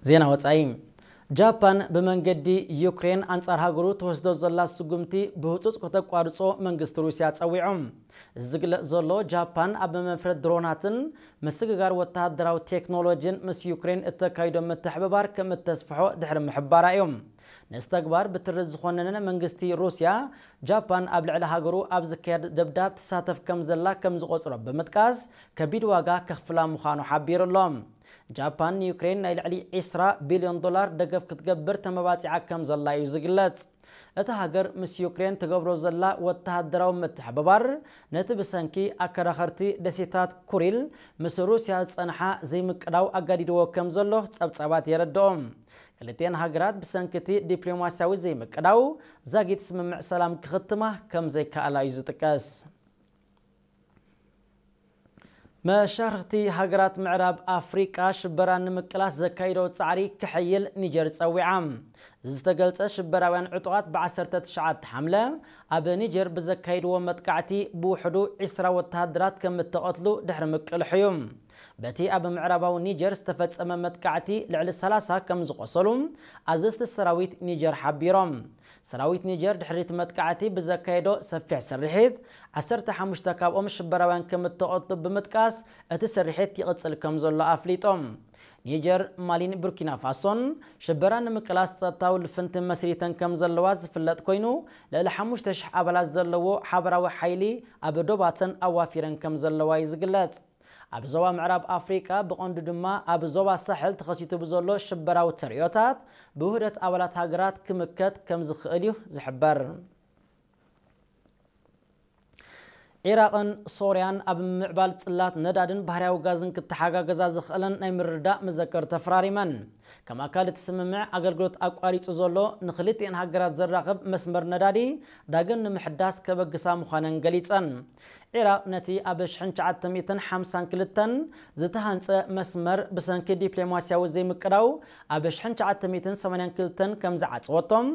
ዜና ወጻኢ። ጃፓን ብመንገዲ ዩክሬን ኣንጻር ሃገሩ ትወስዶ ዘላ ስጉምቲ ብህጹጽ ከተቋርጾ መንግስቲ ሩስያ ጸዊዑ። እዚ ዝግለጽ ዘሎ፣ ጃፓን ኣብ መፍረድ ድሮናትን ምስግጋር ወተሃደራዊ ቴክኖሎጂን ምስ ዩክሬን እተካይዶ ምትሕብባር ከም እተስፍሖ ድሕሪ ምሕባራ እዩ። ነዚ ተግባር ብትሪ ዝኾነነ መንግስቲ ሩስያ፣ ጃፓን ኣብ ልዕሊ ሃገሩ ኣብ ዝካየድ ደብዳብ ትሳተፍ ከም ዘላ ከም ዝቖጽሮ ብምጥቃስ፣ ከቢድ ዋጋ ከኽፍላ ምዃኑ ሓቢሩ ኣሎ። ጃፓን ንዩክሬን ናይ ልዕሊ ዕስራ ቢልዮን ዶላር ደገፍ ክትገብር ተመባጺዓ ከም ዘላ እዩ ዝግለጽ። እታ ሃገር ምስ ዩክሬን ትገብሮ ዘላ ወተሃደራዊ ምትሕብባር፣ ነቲ ብሰንኪ ኣከራኸርቲ ደሴታት ኩሪል ምስ ሩስያ ዝጸንሓ ዘይምቅዳው ኣጋዲድዎ ከም ዘሎ ጸብጻባት የረድኦ። ክልቲኤን ሃገራት ብሰንኪ እቲ ዲፕሎማስያዊ ዘይምቅዳው ዛጊት ስምምዕ ሰላም ክኽትማ ከም ዘይከኣላ እዩ ዝጥቀስ። መሻርኽቲ ሃገራት ምዕራብ ኣፍሪቃ ሽበራ ንምቅላስ ዘካይዶ ጻዕሪ ክሕይል ኒጀር ጸዊዓ። እዚ ዝተገልጸ፣ ሽበራውያን ዕጡቓት ብ ዓሰርተ ትሽዓተ ሓምለ ኣብ ኒጀር ብዘካይድዎ መጥቃዕቲ ብውሕዱ ዕስራ ወተሃደራት ከም እተቐትሉ ድሕሪ ምቅልሑ እዩ። በቲ ኣብ ምዕራባዊ ኒጀር ዝተፈጸመ መጥቃዕቲ ልዕሊ ሰላሳ ከም ዝቖሰሉ ኣዘዝቲ ሰራዊት ኒጀር ሓቢሮም። ሰራዊት ኒጀር ድሕሪ እቲ መጥቃዕቲ ብዘካየዶ ሰፊሕ ስርሒት፣ ዓሰርተ ሓሙሽተ ካብኦም ሽበራውያን ከም እተቐትሉ ብምጥቃስ፣ እቲ ስርሒት ይቕጽል ከም ዘሎ ኣፍሊጦም። ኒጀር፣ ማሊን ቡርኪና ፋሶን ሽበራ ንምቅላስ ጸጥታዊ ልፍንቲ መስሪተን ከም ዘለዋ ዝፍለጥ ኮይኑ፣ ልዕሊ ሓሙሽተ ሽሕ ኣባላት ዘለዎ ሓበራዊ ሓይሊ ኣብ ዶባተን ኣዋፊረን ከም ዘለዋ እዩ ዝግለጽ። ኣብ ዞባ ምዕራብ ኣፍሪቃ፣ ብቐንዱ ድማ ኣብ ዞባ ሳሕል ተኸሲቱ ብዘሎ ሽበራዊ ተርእዮታት፣ ብውህደት ኣባላት ሃገራት ክምከት ከም ዝኽእል እዩ ዝሕበር። ዒራቕን ሶርያን ኣብ ምምዕባል ጽላት ነዳድን ባህርያዊ ጋዝን ክተሓጋገዛ ዝኽእለን ናይ ምርድዳእ መዘከር ተፈራሪመን። ከም ኣካል እቲ ስምምዕ፣ ኣገልግሎት ኣቋሪጹ ዘሎ ንኽልቲኤን ሃገራት ዘራኽብ መስመር ነዳዲ ዳግም ንምሕዳስ ከበግሳ ምዃነን ገሊጸን። ዒራቕ ነቲ ኣብ ሽሕን ትሽዓተ ሚእትን ሓምሳን ክልተን ዝተሃንጸ መስመር ብሰንኪ ዲፕሎማስያዊ ዘይምቅዳው ኣብ ሽሕን ትሽዓተ ሚእትን ሰማንያን ክልተን ከም ዝዓጸወቶም፣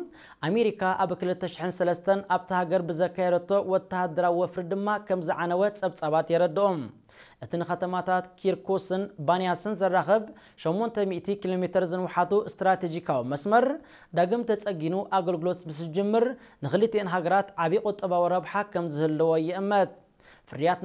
ኣሜሪካ ኣብ ክልተ ሽሕን ሰለስተን ኣብታ ሃገር ብዘካየደቶ ወተሃደራዊ ወፍሪ ድማ ከም ዝዓነወ ጸብጻባት የረድኦም። እቲ ንከተማታት ኪርኩስን ባንያስን ዘራኽብ ሸሞንተ ሚእቲ ኪሎ ሜትር ዝንውሓቱ ስትራቴጂካዊ መስመር ዳግም ተጸጊኑ ኣገልግሎት ምስ ዝጅምር፣ ንኽልቲኤን ሃገራት ዓቢ ቁጠባዊ ረብሓ ከም ዝህልዎ ይእመት። ፍርያት